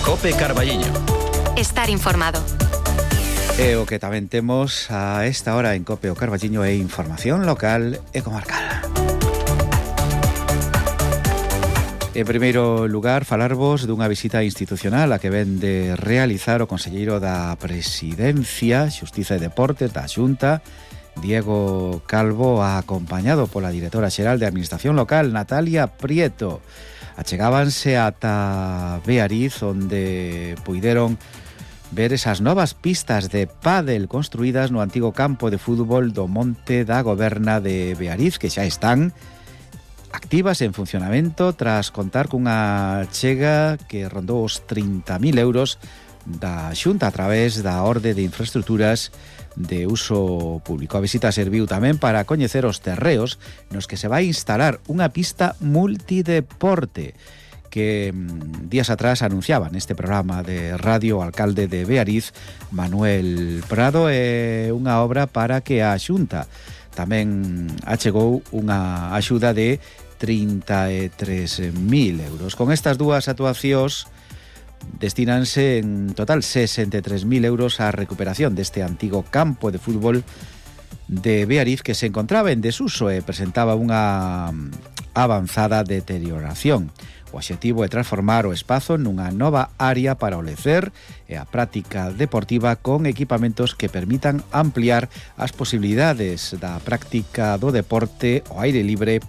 COPE Carballiño. Estar informado. E o que tamén temos a esta hora en COPE o Carballiño é información local e comarcal. En primeiro lugar, falarvos dunha visita institucional a que ven de realizar o conselleiro da Presidencia, Xustiza e Deportes da Xunta, Diego Calvo, acompañado pola directora xeral de Administración Local, Natalia Prieto. Achegábanse ata Beariz, onde puideron ver esas novas pistas de pádel construídas no antigo campo de fútbol do Monte da Goberna de Beariz, que xa están activas en funcionamento tras contar cunha chega que rondou os 30.000 euros da Xunta a través da Orde de Infraestructuras de Uso Público. A visita serviu tamén para coñecer os terreos nos que se vai instalar unha pista multideporte que días atrás anunciaba neste programa de radio o alcalde de Beariz, Manuel Prado, é unha obra para que a Xunta tamén achegou unha axuda de 33.000 euros. Con estas dúas actuacións destínanse en total 63.000 euros á recuperación deste antigo campo de fútbol de Beariz que se encontraba en desuso e presentaba unha avanzada deterioración. O obxectivo é transformar o espazo nunha nova área para o lecer e a práctica deportiva con equipamentos que permitan ampliar as posibilidades da práctica do deporte ao aire libre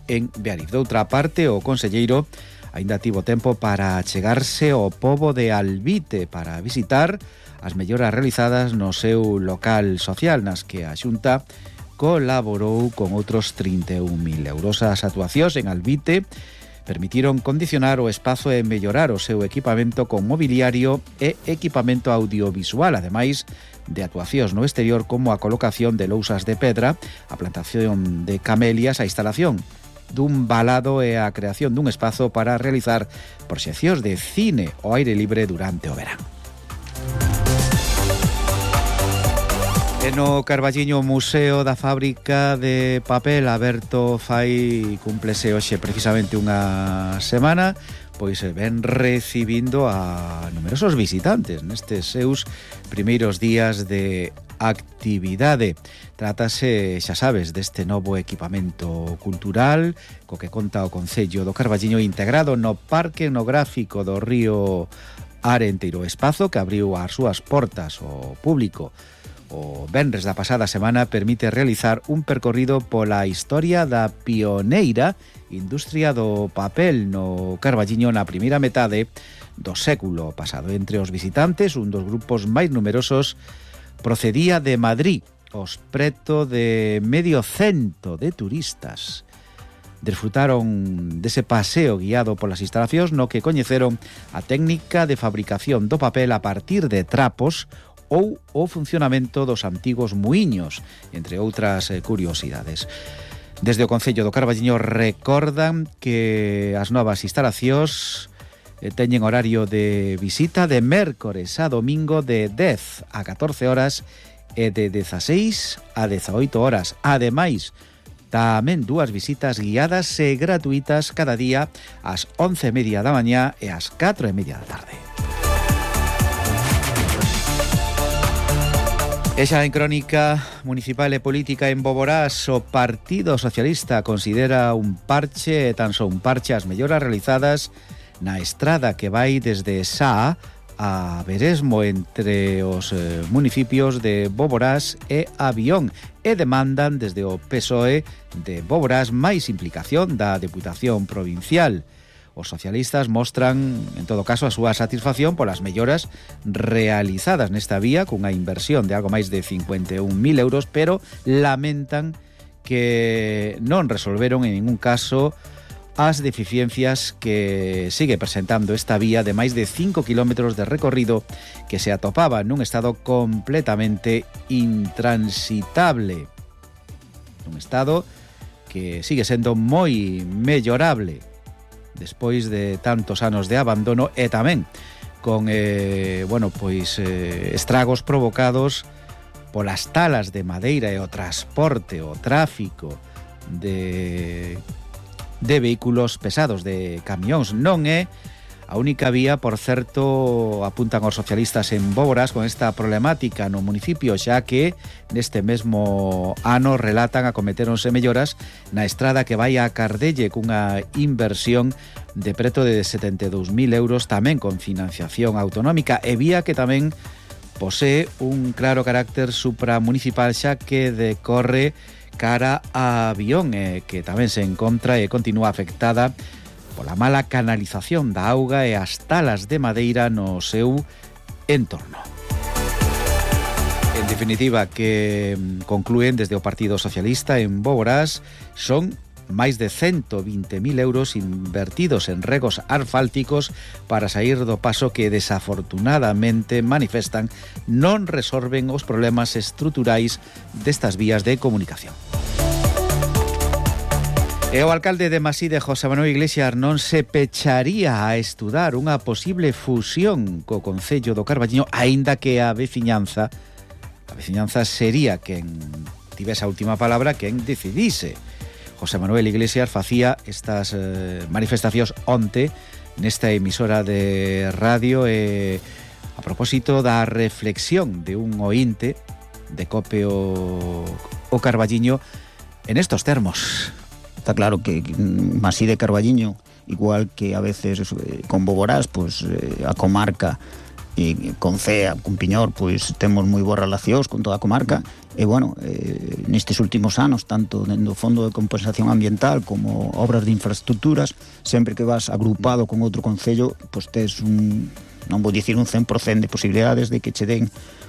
en Beariz. Doutra parte, o conselleiro aínda tivo tempo para chegarse ao pobo de Albite para visitar as melloras realizadas no seu local social, nas que a Xunta colaborou con outros 31.000 euros. As actuacións en Albite permitiron condicionar o espazo e mellorar o seu equipamento con mobiliario e equipamento audiovisual, ademais de actuacións no exterior como a colocación de lousas de pedra, a plantación de camelias, a instalación dun valado e a creación dun espazo para realizar proxeccións de cine ao aire libre durante o verán. E no Carballiño, Museo da Fábrica de Papel aberto cúmplese hoxe precisamente unha semana, pois ven recibindo a numerosos visitantes nestes seus primeiros días de actividade. Trátase, xa sabes, deste novo equipamento cultural co que conta o Concello do Carballiño integrado no Parque Etnográfico do Río Arenteiro, espazo que abriu as súas portas ao público o venres da pasada semana. Permite realizar un percorrido pola historia da pioneira industria do papel no Carballiño na primeira metade do século pasado. Entre os visitantes, un dos grupos máis numerosos procedía de Madrid, os preto de medio cento de turistas. Desfrutaron dese paseo guiado polas instalacións no que coñeceron a técnica de fabricación do papel a partir de trapos ou o funcionamento dos antigos muiños, entre outras curiosidades. Desde o Concello do Carballiño recordan que as novas instalacións teñen horario de visita de mércores a domingo de 10 a 14 horas e de 16 a 18 horas. Ademais, tamén dúas visitas guiadas e gratuitas cada día ás 11:30 da mañá e ás 4:30 da tarde. E xa en crónica municipal e política en Boborás, o Partido Socialista considera un parche, tan só un parche, as melloras realizadas na estrada que vai desde Sá a Beresmo entre os municipios de Boborás e Avión e demandan desde o PSOE de Boborás máis implicación da Deputación Provincial. Os socialistas mostran, en todo caso, a súa satisfacción polas melloras realizadas nesta vía cunha inversión de algo máis de 51.000 euros, pero lamentan que non resolveron en ningún caso as deficiencias que sigue presentando esta vía de máis de 5 kilómetros de recorrido que se atopaba nun estado completamente intransitable. Un estado que sigue sendo moi mellorable despois de tantos anos de abandono e tamén con estragos provocados polas talas de madeira e o transporte, o tráfico de vehículos pesados, de camións. Non é A única vía, por certo, apuntan os socialistas en Bóvoras con esta problemática no municipio, xa que neste mesmo ano relatan acometeronse melloras na estrada que vai a Cardelle cunha inversión de preto de 72.000 euros, tamén con financiación autonómica, e vía que tamén posee un claro carácter supramunicipal, xa que decorre cara a Avión, que tamén se encontra e continúa afectada pola mala canalización da auga e as talas de madeira no seu entorno. En definitiva, que conclúen desde o Partido Socialista en Bóvoras, son máis de 120.000 euros invertidos en regos asfálticos para sair do paso que desafortunadamente manifestan non resolven os problemas estruturais destas vías de comunicación. E o alcalde de Maside, José Manuel Iglesias, non se pecharía a estudar unha posible fusión co concello do Carballiño, aínda que a veciñanza sería quen tivese a última palabra, quen decidise. José Manuel Iglesias facía estas manifestacións onte nesta emisora de radio a propósito da reflexión de un oínte de COPE o Carballiño en estos termos. Está claro que Maside Carballiño, igual que a veces con Bóvoras, pues a comarca con Cea, con Piñor, pois temos moi boas relacións con toda a comarca, e bueno, nestes últimos anos, tanto dentro do Fondo de Compensación Ambiental como obras de infraestructuras, sempre que vas agrupado con outro concello, pois tes non vou dicir un 100% de posibilidades de que che den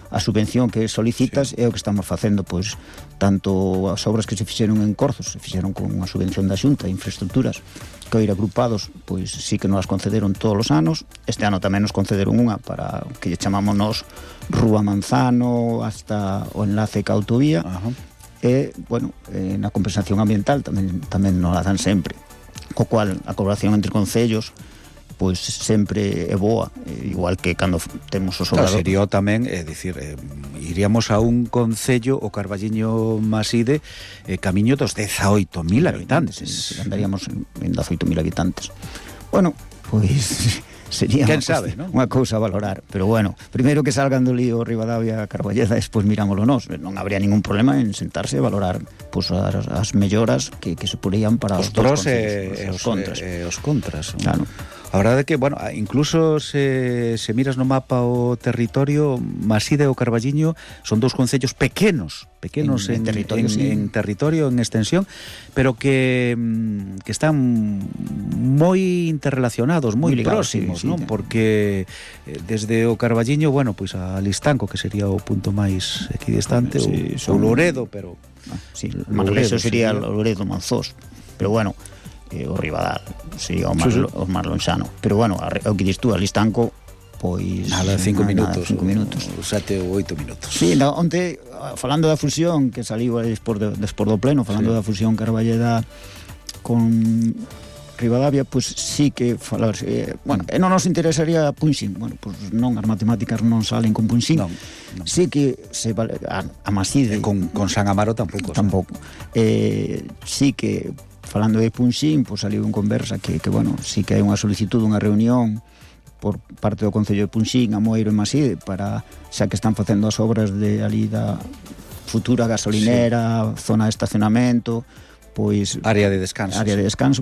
a subvención que solicitas. Sí. É o que estamos facendo, pois tanto as obras que se fixeron en Corzos se fixeron con unha subvención da Xunta de Infraestructuras, que ir agrupados, pois sí que nos as concederon todos os anos. Este ano tamén nos concederon unha para que lle chamamos nos Rúa Manzano hasta o enlace ca autovía. E, bueno, na compensación ambiental tamén nos la dan sempre, co cual a colaboración entre concellos pois sempre é boa, igual que cando temos os obradores. Sería tamén, é dicir, iríamos a un concello, o Carballiño Maside, camiño dos 18.000 habitantes. Andaríamos en 18.000 habitantes. Bueno, pois sería unha cousa a valorar, pero bueno, primeiro que salgan do lío Ribadavia Carballeda, despois mirámoslo nós. Non habría ningún problema en sentarse e valorar pois as melloras que se porían para os pros e os contras. Claro. A verdade é que, bueno, incluso se miras no mapa o territorio, Maside e o Carballiño son dous concellos pequenos en territorio, sí, en territorio, en extensión, pero que están moi interrelacionados, moi próximos, sí, non? Porque desde o Carballiño, bueno, pois a Listanco, que sería o punto máis equidistante, sí, o Loredo, pero sí, Loredo sería Loredo Manzós, pero bueno, o Ribadal, sí, o máis lonxano. Pero bueno, o que dis tú, a Listanco, pois nada, 5 minutos, 7 ou 8 minutos. Sí, onte, falando da fusión que saliu despois do pleno, falando da fusión Carballeda con Ribadavia, pois sí que falar, bueno, non nos interesaría Punxín. Bueno, pois non, as matemáticas non salen con Punxín. Non. Sí que a Maside con San Amaro tampouco. Sí que falando de Punxín, pois saliu en conversa que bueno, sí que hai unha solicitud, unha reunión por parte do Concello de Punxín, Amoeiro e Maside, para xa que están facendo as obras de ali da futura gasolinera, sí, zona de estacionamento, pois área de descanso,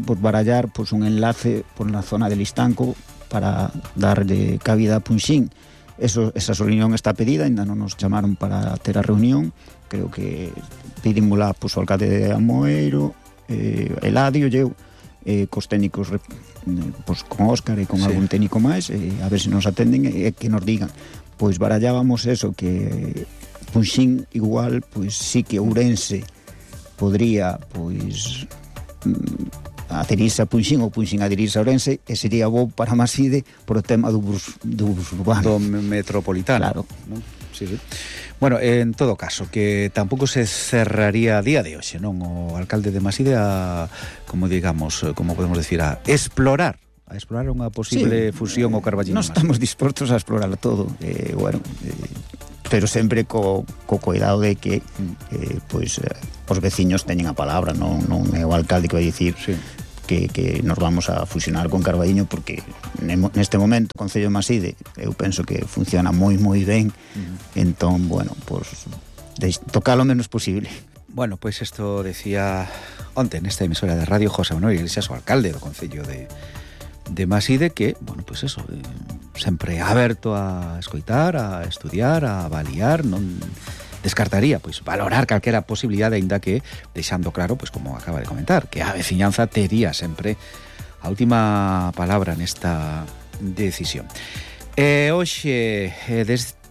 pois barallar pois un enlace por na zona de Listanco para darlle cabida a Punxín. Esa reunión está pedida, ainda non nos chamaron para ter a reunión. Creo que pedímola pois o alcalde de Amoeiro, Eladio e eu, cos técnicos, pois con Óscar e con algún técnico máis, a ver se nos atenden e que nos digan. Pois barallábamos eso, que Punxín igual, pois sí que Ourense podría pois adherirse a Punxín ou Punxín adherirse a Ourense, e sería bo para Maside por o tema do bus urbano, do metropolitano, claro, ¿no? Sí. Bueno, en todo caso, que tampouco se cerraría a día de hoxe, non? O alcalde de Maside como podemos decir, a explorar unha posible fusión ao Carballiño. Nós estamos dispostos a explorar todo, pero sempre co cuidado de que os veciños teñen a palabra, non é o alcalde que vai dicir, sí, que nos vamos a fusionar con Carballiño, porque neste momento o Concello de Maside eu penso que funciona moi ben. Entón, bueno, pues tocar lo menos posible. Bueno, pues esto decía onte nesta emisora de radio José Manuel Iglesias, o alcalde do Concello de Maside, que, bueno, pues eso, sempre aberto a escoitar, a estudiar, a avaliar, non descartaría, pois, valorar calquera posibilidade, aínda que deixando claro, pois, como acaba de comentar, que a veciñanza tería sempre a última palabra nesta decisión. Hoxe,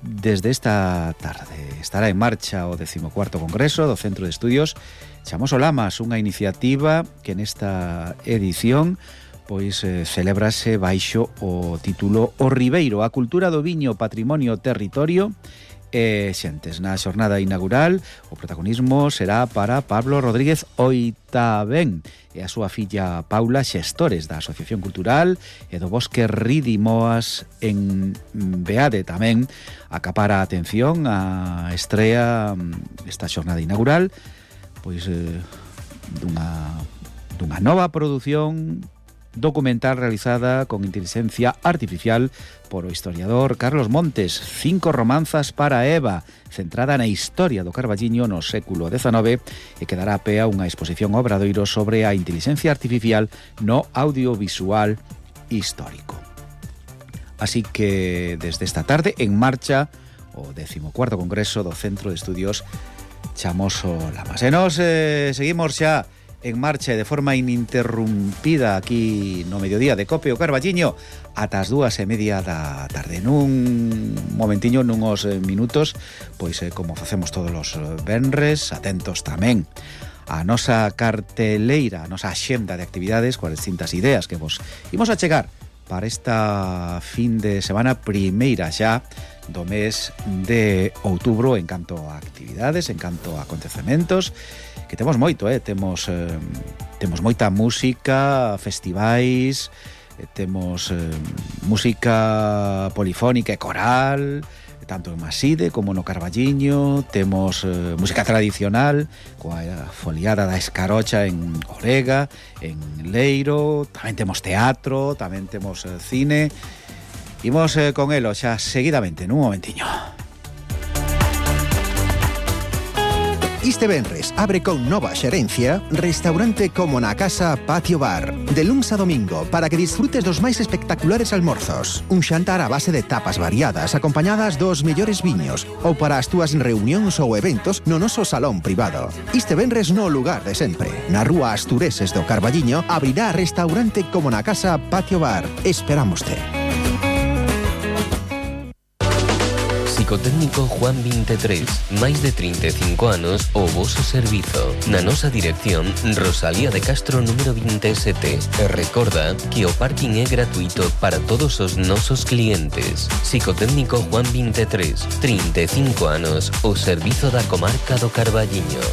desde esta tarde, estará en marcha o 14º Congreso do Centro de Estudios Chamoso Lamas, unha iniciativa que nesta edición pois celébrase baixo o título O Ribeiro, a cultura do viño, patrimonio, territorio e xentes. Na xornada inaugural o protagonismo será para Pablo Rodríguez Oitabén e a súa filla Paula, xestores da Asociación Cultural e do Bosque Ridimoas en Beade. Tamén acapara a atención a estrea esta xornada inaugural pois dunha nova produción documental realizada con inteligencia artificial por o historiador Carlos Montes, 5 romanzas para Eva, centrada na historia do Carballiño no século XIX, e que dará pé a unha exposición obradoiro sobre a inteligencia artificial no audiovisual histórico. Así que desde esta tarde en marcha o 14º Congreso do Centro de Estudios Chamoso Lamas. E nos seguimos xa en marcha de forma ininterrumpida aquí no mediodía de Cope o Carballiño ata as 2:30 da tarde. Nun momentiño, nunos minutos, pois como facemos todos os venres, atentos tamén a nosa carteleira, a nosa axenda de actividades, coas distintas ideas que vos imos a chegar para esta fin de semana primeira xa do mes de outubro en canto a actividades, en canto a acontecementos, que temos moito, temos moita música, festivais, temos música polifónica e coral, tanto en Maside como no Carballiño, temos música tradicional, coa foliada da escarocha en Orega, en Leiro, tamén temos teatro, tamén temos cine. Imos con elo xa seguidamente, nun momentiño. Este venres abre con nova xerencia restaurante como na Casa Patio Bar. De luns a domingo, para que disfrutes dos máis espectaculares almorzos. Un xantar a base de tapas variadas acompañadas dos mellores viños, ou para as túas reunións ou eventos no noso salón privado. Este venres no lugar de sempre. Na rúa Astureses do Carballiño abrirá restaurante como na Casa Patio Bar. Esperámoste. Psicotécnico Juan 23, máis de 35 anos o voso servizo. Na nosa dirección, Rosalía de Castro número 27. E recorda que o parking é gratuito para todos os nosos clientes. Psicotécnico Juan 23, 35 anos, o servizo da comarca do Carballiño.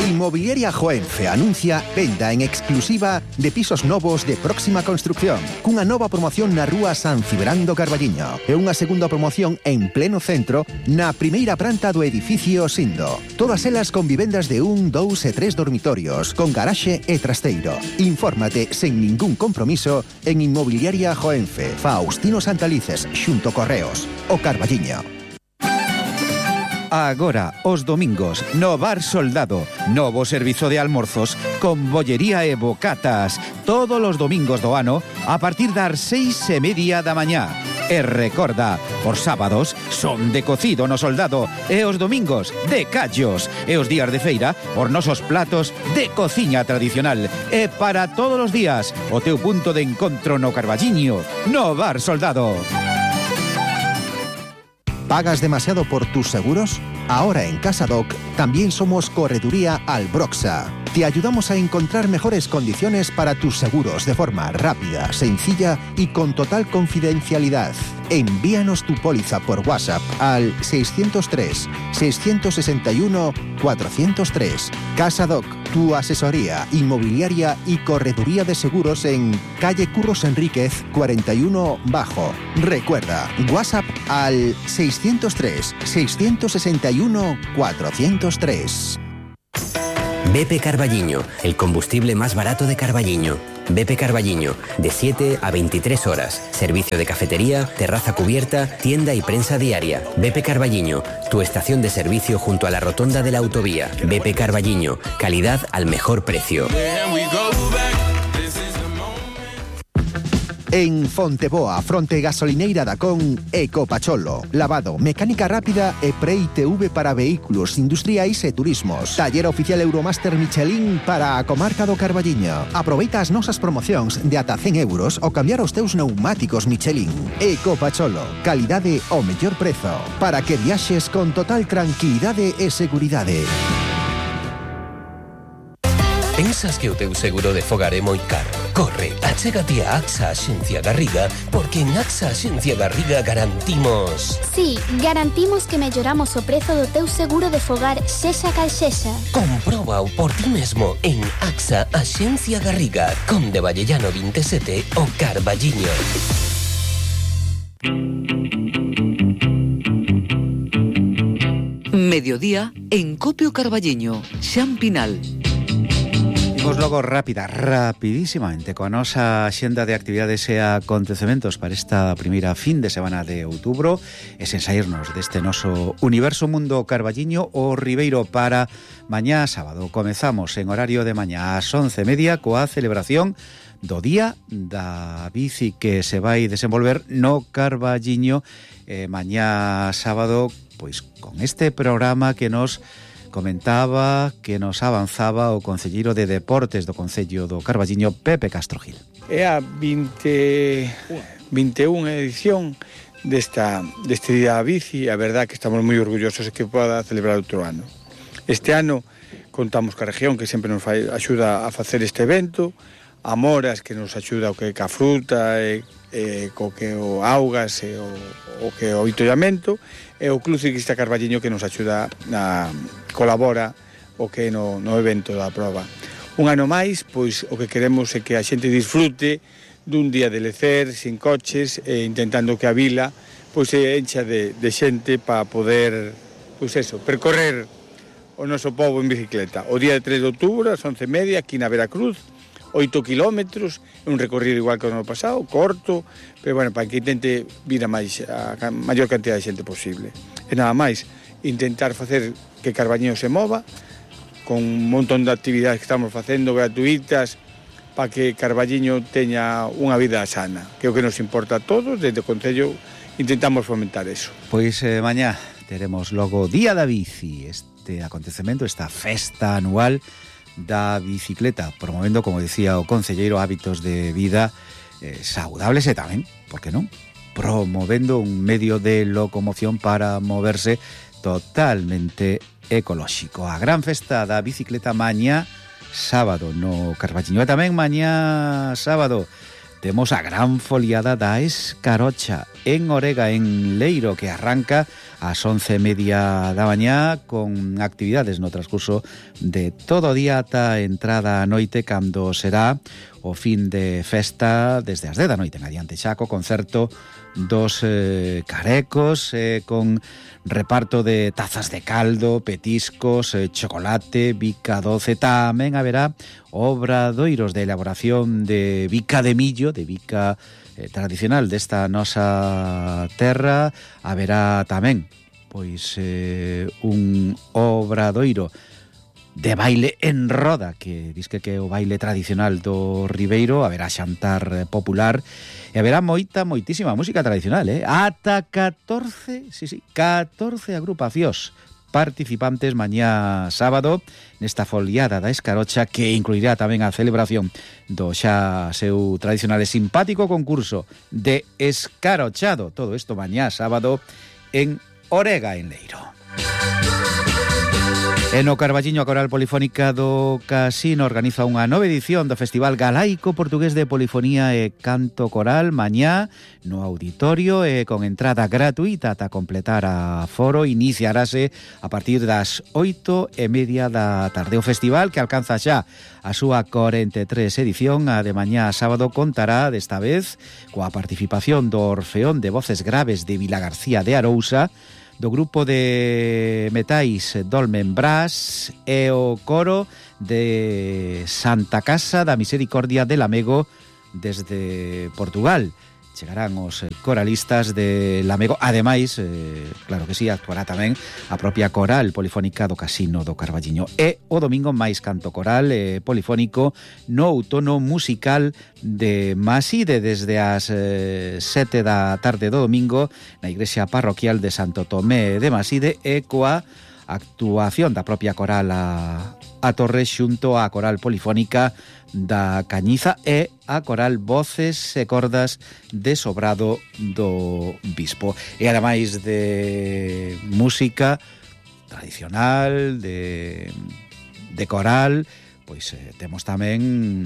Inmobiliaria Joenfe anuncia venda en exclusiva de pisos novos de próxima construcción, cunha nova promoción na rúa San Cibrán do Carballiño e unha segunda promoción en pleno centro na primeira planta do edificio Sindo. Todas elas con vivendas de 1, 2 e 3 dormitorios, con garaxe e trasteiro. Infórmate sen ningún compromiso en Inmobiliaria Joenfe, Faustino Santalices, xunto Correos, o Carballiño. Agora, os domingos, no Bar Soldado, novo servizo de almorzos con bollería e bocatas, todos os domingos do ano a partir das 6:30 da mañá. E recorda, os sábados son de cocido no Soldado e os domingos de callos e os días de feira os nosos platos de cociña tradicional. E para todos os días, o teu punto de encontro no Carballiño, no Bar Soldado. ¿Pagas demasiado por tus seguros? Ahora en Casa Doc también somos Correduría Albroxa. Te ayudamos a encontrar mejores condiciones para tus seguros de forma rápida, sencilla y con total confidencialidad. Envíanos tu póliza por WhatsApp al 603-661-403. Casa Doc, tu asesoría inmobiliaria y correduría de seguros en calle Curros Enríquez 41 Bajo. Recuerda, WhatsApp al 603-661-403. BP Carballiño, el combustible más barato de Carballiño. BP Carballiño, de 7 a 23 horas. Servicio de cafetería, terraza cubierta, tienda y prensa diaria. BP Carballiño, tu estación de servicio junto a la rotonda de la autovía. BP Carballiño, calidad al mejor precio. En Fonteboa, fronte gasolineira da Con, Ecopacholo, lavado, mecánica rápida e pre-ITV para vehículos industriais e turismos. Taller oficial Euromaster Michelin para a comarca do Carballiño. Aproveita as nosas promocións de ata 100 euros ao cambiar os teus pneumáticos Michelin. Ecopacholo, calidade ao mellor prezo, para que viaxes con total tranquilidade e seguridade. Pensas que o teu seguro de fogar é moi caro? Corre, achégate a AXA Axencia Garriga, porque en AXA Axencia Garriga garantimos... Sí, garantimos que melloramos o prezo do teu seguro de fogar sexa cal sexa. Compróbao por ti mesmo en AXA Axencia Garriga, Conde Vallellano 27, o Carballiño. Mediodía en Copio Carballiño, Xan Pinal. Imos logo rapidísimamente coa nosa xenda de actividades e acontecementos para esta primeira fin de semana de outubro e sen saírnos deste noso universo mundo carballiño o Ribeiro para mañá sábado. Comezamos en horario de mañá ás 11:30 coa celebración do Día da Bici que se vai desenvolver no Carballiño mañá sábado, pois con este programa que nos comentaba, que nos avanzaba o concelleiro de Deportes do Concello do Carballiño, Pepe Castro Gil. É a 21 edición deste Día da Bici, a verdad que estamos moi orgullosos de que poda celebrar outro ano. Este ano contamos ca región que sempre nos axuda a facer este evento, a Moras que nos axuda o que ca fruta co que o augas e o que o itollamento, e o Club Ciclista Carballiño que nos axuda colabora o que no evento da proba. Un ano máis, pois o que queremos é que a xente disfrute dun día de lecer, sin coches, e intentando que a vila pois se encha de xente para poder, pois eso, percorrer o noso pobo en bicicleta. O día de 3 de outubro, ás 11:30, aquí na Veracruz, 8 kilómetros, un recorrido igual que o ano pasado, corto, pero bueno, para que intente vir a maior cantidad de xente posible. E nada máis, intentar facer que Carballiño se mova, con un montón de actividades que estamos facendo gratuitas, para que Carballiño teña unha vida sana, que é o que nos importa a todos, desde o Concello intentamos fomentar eso. Pois mañá teremos logo Día da Bici, este acontecemento, esta festa anual da bicicleta, promovendo, como decía o concelleiro, hábitos de vida saudables e tamén, por que non, promovendo un medio de locomoción para moverse totalmente ecolóxico. A gran festa da bicicleta mañá sábado no Carballiño, e tamén mañá sábado temos a gran foliada da Escarocha en Orega, en Leiro, que arranca ás 11:30 da mañá con actividades no transcurso de todo o día ata a entrada a noite, cando será o fin de festa desde as 10 da noite en adiante, xa co concerto dos carecos, con reparto de tazas de caldo, petiscos, chocolate, bica doce. Tamén haberá obradoiros de elaboración de bica de millo, de bica tradicional desta nosa terra. Haberá tamén pois un obradoiro de baile en roda, que disque que é o baile tradicional do Ribeiro. Haberá xantar popular e haberá moitísima música tradicional, ata 14 agrupacións participantes mañá sábado nesta foliada da Escarocha, que incluirá tamén a celebración do xa seu tradicional e simpático concurso de escarochado. Todo isto mañá sábado en Orega, en Leiro. E no Carballiño, a Coral Polifónica do Casino organiza unha nova edición do Festival Galaico Portugués de Polifonía e Canto Coral mañá no auditorio, e con entrada gratuita ata completar a foro. Iniciarase a partir das 8:30 da tarde. O festival, que alcanza xa a súa 43 edición, a de mañá sábado, contará desta vez coa participación do Orfeón de Voces Graves de Vilagarcía de Arousa, do grupo de metais Dolmen Brass e o coro de Santa Casa da Misericordia de Lamego desde Portugal. Chegarán os coralistas de Lamego. Ademais, claro que sí, actuará tamén a propia coral polifónica do Casino do Carballiño. E o domingo máis canto coral polifónico no outono musical de Maside desde as 7 da tarde do domingo na igrexa parroquial de Santo Tomé de Maside e coa actuación da propia coral a Torres xunto á coral polifónica da Cañiza e a coral Voces e Cordas de Sobrado do Bispo. E ademais de música tradicional, de coral, pois temos tamén,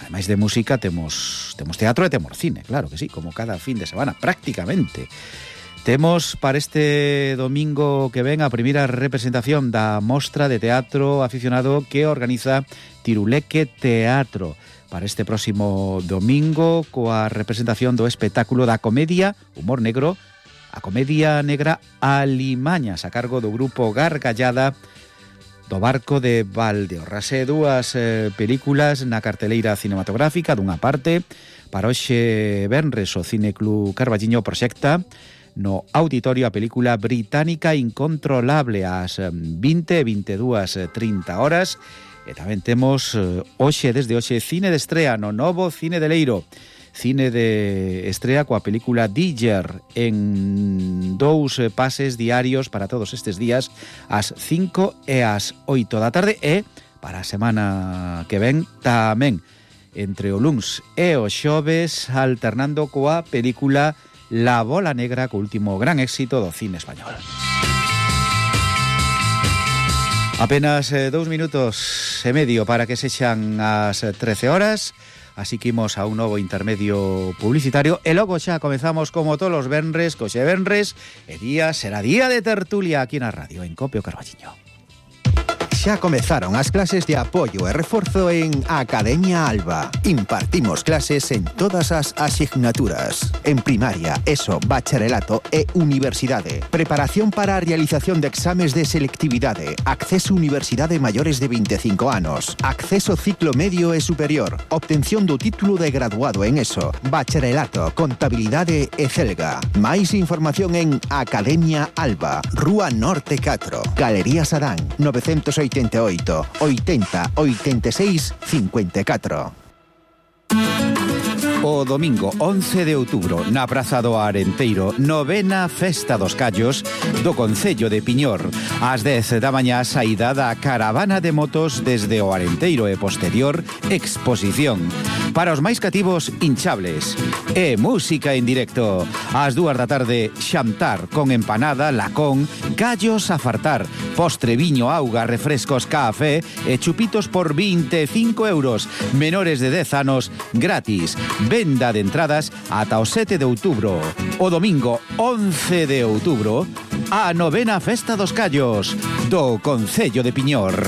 ademais de música, temos teatro e temos cine, claro que sí, como cada fin de semana, prácticamente. Temos para este domingo que ven a primeira representación da mostra de teatro aficionado que organiza Tiruleque Teatro para este próximo domingo coa representación do espectáculo da comedia Humor Negro, a comedia negra Alimañas a cargo do grupo Gargallada do Barco de Valdeorras. Dúas películas na carteleira cinematográfica. Dunha parte, para hoxe venres o Cineclub Carballiño proxecta no auditorio a película británica Incontrolable ás 20:30 horas. E tamén temos desde hoxe cine de estrea no novo Cine de Leiro. Cine de estrea coa película Digger en 2 pases diarios para todos estes días ás 5 e ás 8 da tarde e para a semana que ven tamén entre o luns e o xoves alternando coa película La Bola Negra, co último gran éxito do cine español. Apenas 2 minutos e medio para que sexan as 13 horas, así que imos a un novo intermedio publicitario e logo xa comezamos como todos os venres, coxe venres, e será día de tertulia aquí na radio en Copio Carballiño. Xa comezaron as clases de apoio e reforzo en Academia Alba. Impartimos clases en todas as asignaturas. En primaria, ESO, bacharelato e universidade. Preparación para a realización de exames de selectividade. Acceso a universidade maiores de 25 anos. Acceso ciclo medio e superior. Obtención do título de graduado en ESO, bacharelato, contabilidade e celga. Máis información en Academia Alba, Rúa Norte 4, Galería Sadán, 988 80 86 54. O domingo 11 de outubro na Praza do Arenteiro, novena Festa dos Callos do Concello de Piñor. Ás 10 da mañá saída da caravana de motos desde o Arenteiro e posterior exposición. Para os máis cativos, hinchables e música en directo. Ás 2 da tarde, xantar con empanada, lacón, gallos a fartar, postre, viño, auga, refrescos, café e chupitos por 25 euros. Menores de 10 anos, gratis. Venda de entradas ata o 7 de outubro. O domingo 11 de outubro, a novena Festa dos Callos do Concello de Piñor.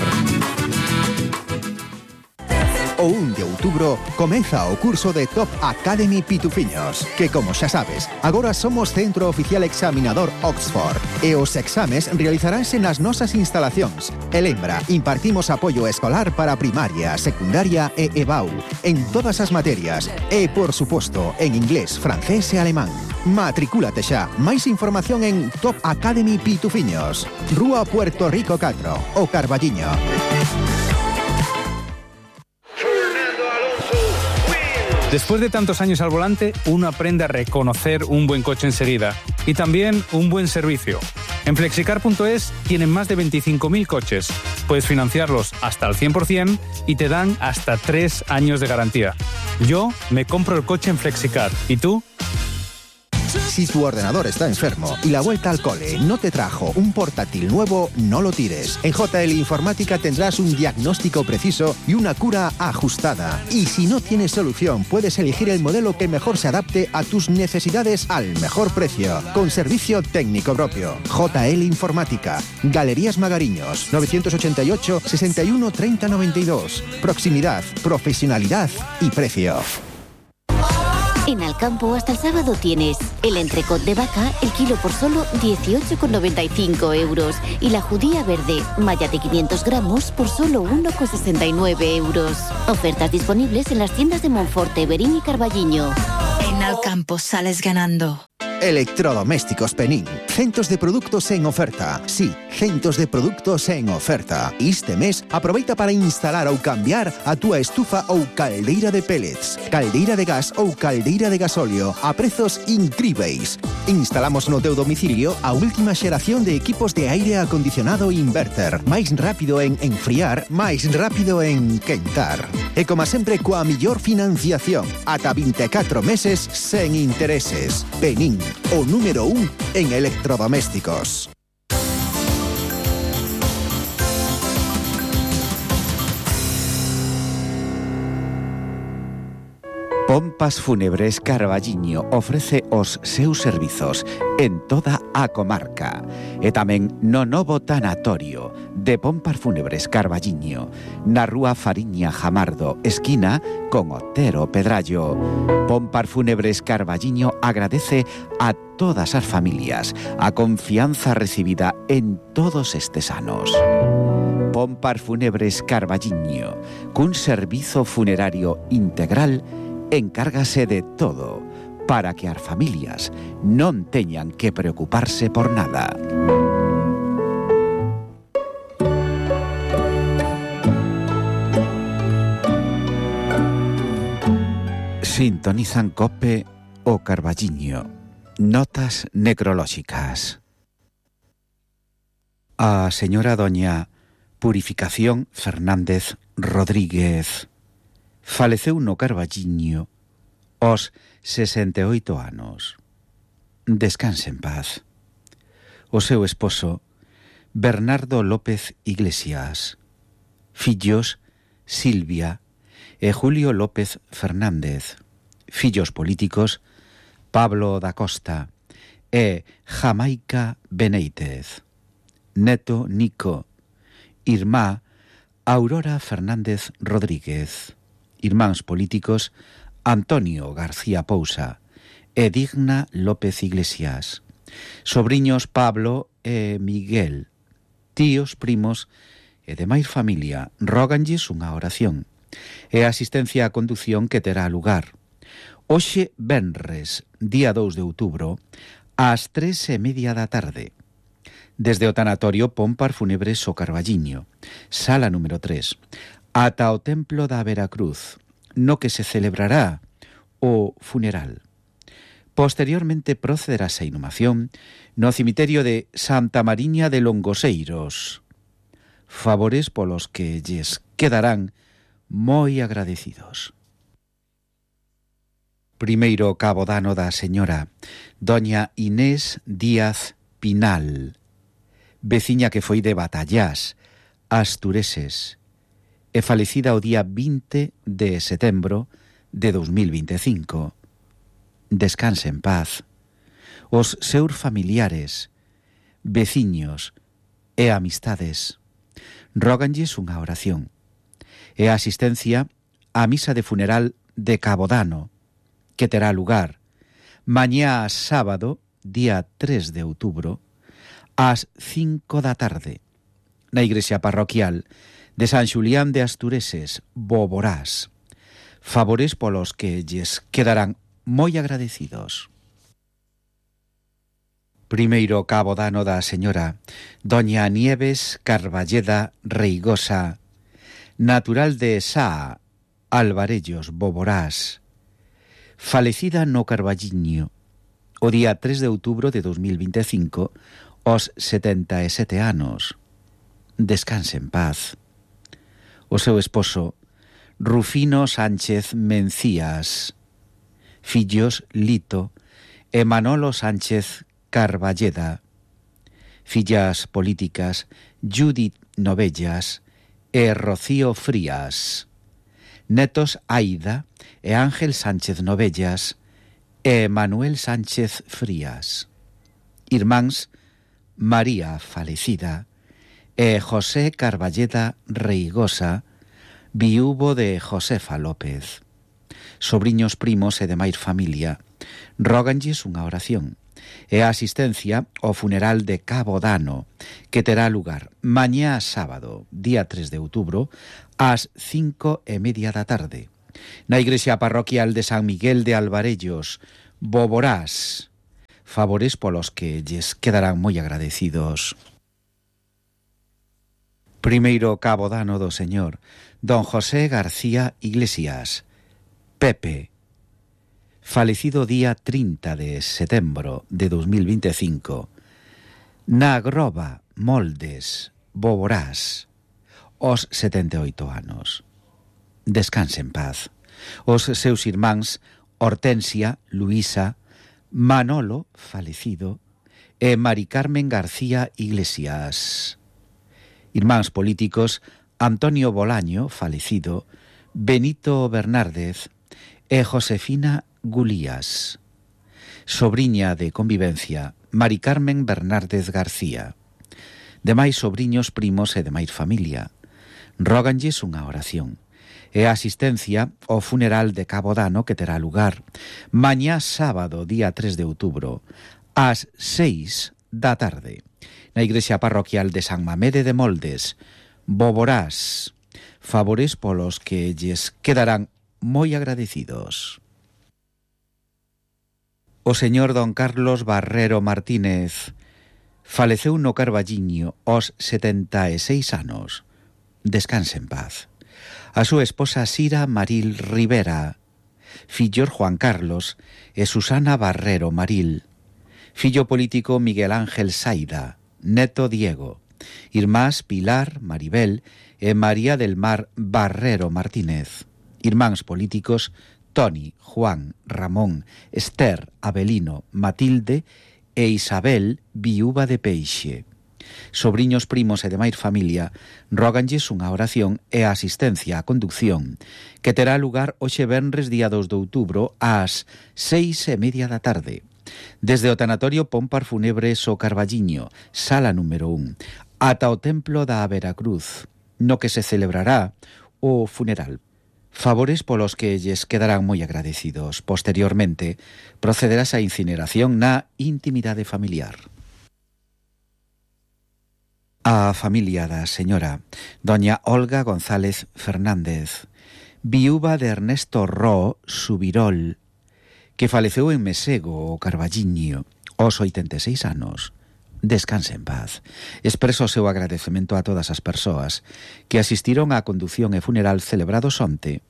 O 1 de outubro comeza o curso de Top Academy Pitufiños, que, como xa sabes, agora somos Centro Oficial Examinador Oxford e os exames realizaránse nas nosas instalacións. E lembra, impartimos apoio escolar para primaria, secundaria e EBAU en todas as materias e, por suposto, en inglés, francés e alemán. Matricúlate xa. Máis información en Top Academy Pitufiños, Rúa Puerto Rico 4, O Carballiño. Después de tantos años al volante, uno aprende a reconocer un buen coche enseguida y también un buen servicio. En Flexicar.es tienen más de 25.000 coches. Puedes financiarlos hasta al 100% y te dan hasta 3 años de garantía. Yo me compro el coche en Flexicar. ¿Y tú? Si tu ordenador está enfermo y la vuelta al cole no te trajo un portátil nuevo, no lo tires. En JL Informática tendrás un diagnóstico preciso y una cura ajustada. Y si no tienes solución, puedes elegir el modelo que mejor se adapte a tus necesidades al mejor precio, con servicio técnico propio. JL Informática, Galerías Magariños, 988 61 30 92. Proximidad, profesionalidad y precio. En Alcampo hasta el sábado tienes el entrecot de vaca, el kilo por solo 18,95 euros. Y la judía verde, malla de 500 gramos por solo 1,69 euros. Ofertas disponibles en las tiendas de Monforte, Verín y Carballiño. En Alcampo sales ganando. Electrodomésticos Penín. Cientos de productos en oferta. Sí, cientos de productos en oferta. Este mes, aproveita para instalar ou cambiar a túa estufa ou caldeira de pellets, caldeira de gas ou caldeira de gasóleo a prezos incríveis. Instalamos no teu domicilio a última xeración de equipos de aire acondicionado inverter. Máis rápido en enfriar, máis rápido en quentar. E como sempre, coa millor financiación, ata 24 meses sen intereses. Penín, o número 1 en electrodomésticos. Pompas Fúnebres Carballiño ofrece os seus servizos en toda a comarca e tamén no novo tanatorio de Pompas Fúnebres Carballiño na rúa Fariña Jamardo, esquina con Otero Pedrallo. Pompas Fúnebres Carballiño agradece a todas as familias a confianza recibida en todos estes anos. Pompas Fúnebres Carballiño, cun servizo funerario integral, encárgase de todo para que as familias non teñan que preocuparse por nada. Sintonizan COPE o Carballiño. Notas necrolóxicas. A señora doña Purificación Fernández Rodríguez faleceu no Carballiño aos 68 anos. Descanse en paz. O seu esposo, Bernardo López Iglesias. Fillos, Silvia e Julio López Fernández. Fillos políticos, Pablo da Costa e Jamaica Beneitez. Neto Nico. Irmá Aurora Fernández Rodríguez. Irmáns políticos Antonio García Pousa e Digna López Iglesias. Sobriños Pablo e Miguel. Tíos, primos e demais familia róganlles unha oración e asistencia á condución que terá lugar hoxe venres, día 2 de outubro, ás 3:30 da tarde, desde o tanatorio Pompas Fúnebres o Carballiño, sala número 3, ata o Templo da Veracruz, no que se celebrará o funeral. Posteriormente procederase a inhumación no cemiterio de Santa Mariña de Longoseiros. Favores polos que lles quedarán moi agradecidos. Primeiro cabodano da señora doña Inés Díaz Pinal, veciña que foi de Batallás, Astureses, e falecida o día 20 de setembro de 2025. Descanse en paz. Os seus familiares, veciños e amistades róganlles unha oración e a asistencia á misa de funeral de Cabodano, que terá lugar mañá sábado, día 3 de outubro, ás 5 da tarde, na igrexa parroquial de San Xulián de Astureses, Boborás. Favores polos que lles quedarán moi agradecidos. Primeiro cabodano da señora doña Nieves Carballeda Reigosa, natural de Saa, Alvarellos, Boborás, falecida no Carballiño o día 3 de outubro de 2025 aos 77 anos. Descanse en paz. O seu esposo, Rufino Sánchez Mencías. Fillos, Lito e Manolo Sánchez Carballeda. Fillas políticas, Judith Novellas e Rocío Frías. Netos, Aida e Ángel Sánchez Novellas e Manuel Sánchez Frías. Irmáns, María falecida e José Carballeda Reigosa, viúvo de Josefa López. sobriños, primos e demais familia róganlles unha oración e a asistencia ao funeral de Cabo Dano, que terá lugar mañá sábado, día 3 de outubro, ás 5:30 da tarde, na igrexa parroquial de San Miguel de Alvarellos, Boborás. Favores polos que lles quedarán moi agradecidos. Primeiro Cabo Dano do señor Don José García Iglesias, Pepe, falecido día 30 de setembro de 2025, na Groba, Moldes, Boborás, aos 78 anos. Descanse en paz. Os seus irmáns Hortensia, Luisa, Manolo, falecido, e Mari Carmen García Iglesias. Irmáns políticos Antonio Bolaño, falecido, Benito Bernárdez e Josefina Gulías. Sobriña de convivencia, Mari Carmen Bernárdez García. Demais sobriños, primos e demais familia róganlles unha oración e a asistencia ao funeral de Cabo Dano, que terá lugar mañá sábado, día 3 de outubro, ás 6 da tarde, na igrexa parroquial de San Mamede de Moldes, Boborás. Favores polos que lles quedarán moi agradecidos. O señor don Carlos Barrero Martínez faleceu no Carballiño aos 76 anos. Descanse en paz. A súa esposa Sira Maril Rivera, fillos Juan Carlos e Susana Barrero Maril, fillo político Miguel Ángel Saida, neto Diego, irmás Pilar, Maribel e María del Mar Barrero Martínez, irmáns políticos Toni, Juan, Ramón, Esther, Abelino, Matilde e Isabel, viúva de Peixe. Sobriños, primos e demais familia róganlles unha oración e a asistencia á conducción, que terá lugar hoxe venres día 2 de outubro ás 6:30 da tarde, desde o tanatorio Pompar Funebres o Carballiño, sala número 1, ata o templo da Veracruz, no que se celebrará o funeral. Favores polos que lles quedarán moi agradecidos. Posteriormente, procederás a incineración na intimidade familiar. A familia da señora doña Olga González Fernández, viúva de Ernesto Ró Subirol, que faleceu en Mesego, o Carballiño, aos 86 anos. Descanse en paz. Expreso o seu agradecemento a todas as persoas que asistiron á condución e funeral celebrados onte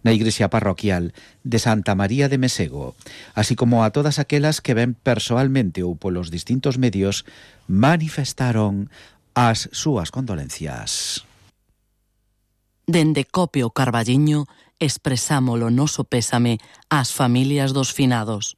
na igrexa parroquial de Santa María de Mesego, así como a todas aquelas que ben persoalmente ou polos distintos medios manifestaron as súas condolencias. Dende Copio Carballiño expresamos o noso pésame ás familias dos finados.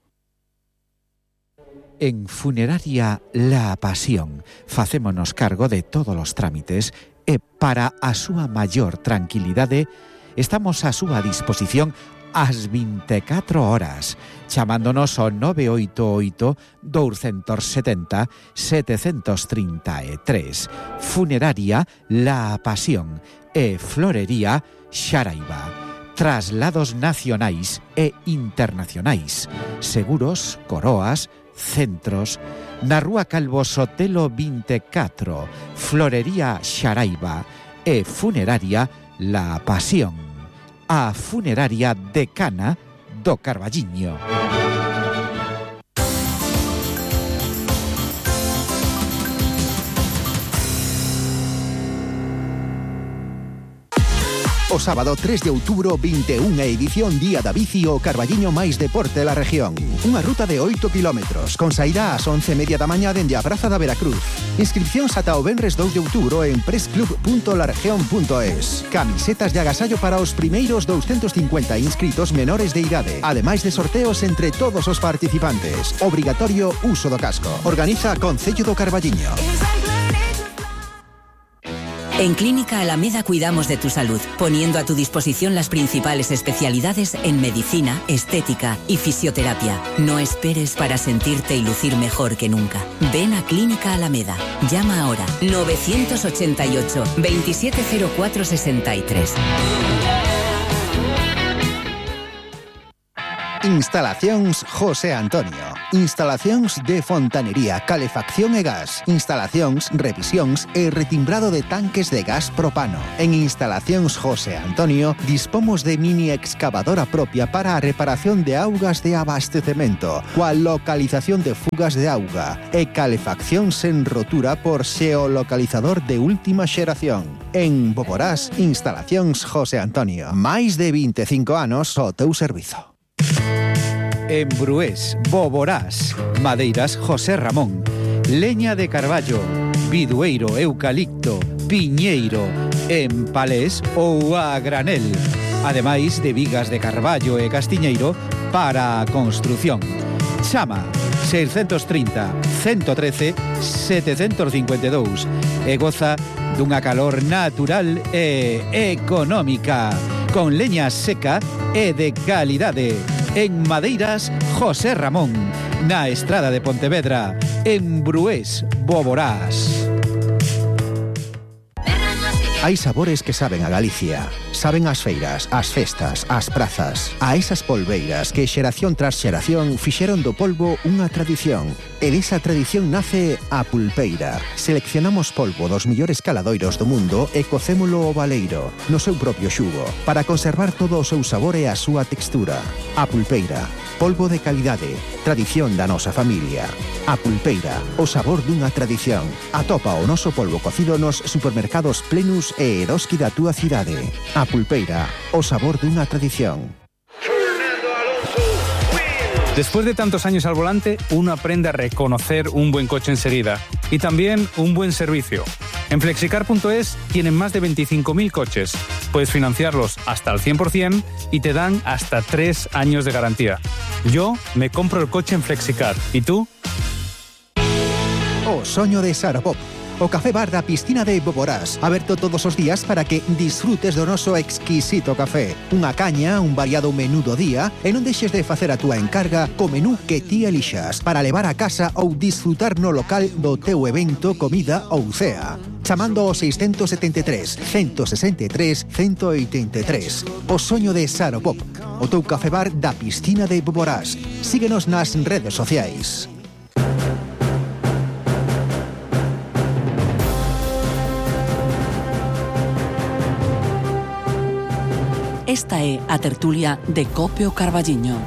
En Funeraria La Pasión facémonos cargo de todos os trámites e para a súa maior tranquilidade estamos a súa disposición ás 24 horas, chamándonos ao 988-270-733. Funeraria La Pasión e Florería Xaraiba. Traslados nacionais e internacionais, seguros, coroas, centros, na Rúa Calvo Sotelo 24, Florería Xaraiba e Funeraria La Pasión, a funeraria decana do Carballiño. O sábado 3 de outubro, 21 edición Día da Bici o Carballiño máis deporte da región. Unha ruta de 8 kilómetros, con saída ás 11:30 da mañá dende a Praza da Veracruz. Inscripcións ata o venres 2 de outubro en pressclub.laregion.es. Camisetas de agasallo para os primeiros 250 inscritos menores de idade, ademais de sorteos entre todos os participantes. Obrigatorio uso do casco. Organiza Concello do Carballiño. En Clínica Alameda cuidamos de tu salud, poniendo a tu disposición las principales especialidades en medicina, estética y fisioterapia. No esperes para sentirte y lucir mejor que nunca. Ven a Clínica Alameda. Llama ahora 988 270463. Instalacións José Antonio. Instalacións de fontanería, calefacción e gas. Instalacións, revisións e retimbrado de tanques de gas propano. En Instalacións José Antonio dispomos de mini excavadora propia para a reparación de augas de abastecemento, coa localización de fugas de auga e calefacción sen rotura por xeolocalizador de última xeración. En Boborás, Instalacións José Antonio. Máis de 25 anos ao teu servizo. En Brués, Boborás, madeiras José Ramón, leña de carballo, bidueiro, eucalipto, piñeiro, en palés ou a granel, ademais de vigas de carballo e castiñeiro para a construción. Chama 630 113 752 e goza dunha calor natural e económica, con leña seca e de calidade. En Madeiras José Ramón, na Estrada de Pontevedra, en Brués, Boborás. Hai sabores que saben a Galicia. Saben as feiras, as festas, as prazas. A esas polveiras que xeración tras xeración fixeron do polvo unha tradición. E desa tradición nace a pulpeira. Seleccionamos polvo dos millores caladoiros do mundo e cocémolo ao baleiro, no seu propio xugo, para conservar todo o seu sabor e a súa textura. A pulpeira, polvo de calidade, tradición da nosa familia. A pulpeira, o sabor dunha tradición. Atopa o noso polvo cocido nos supermercados Plenus e Eroski da túa cidade. A pulpeira, o sabor dunha tradición. Después de tantos años al volante, uno aprende a reconocer un buen coche enseguida y también un buen servicio. En Flexicar.es tienen más de 25.000 coches. Puedes financiarlos hasta el 100% y te dan hasta 3 años de garantía. Yo me compro el coche en Flexicar. ¿Y tú? O soño de Sara Pop. O café bar da piscina de Boborás, aberto todos os días para que disfrutes do noso exquisito café. Unha caña, un variado menú do día e non deixes de facer a túa encarga co menú que ti elixas para levar a casa ou disfrutar no local do teu evento, comida ou cea. Chamando ao 673 163 183. O soño de Sara Pop. O teu café bar da piscina de Boborás. Síguenos nas redes sociais. Esta é a tertulia de Cope o Carballiño.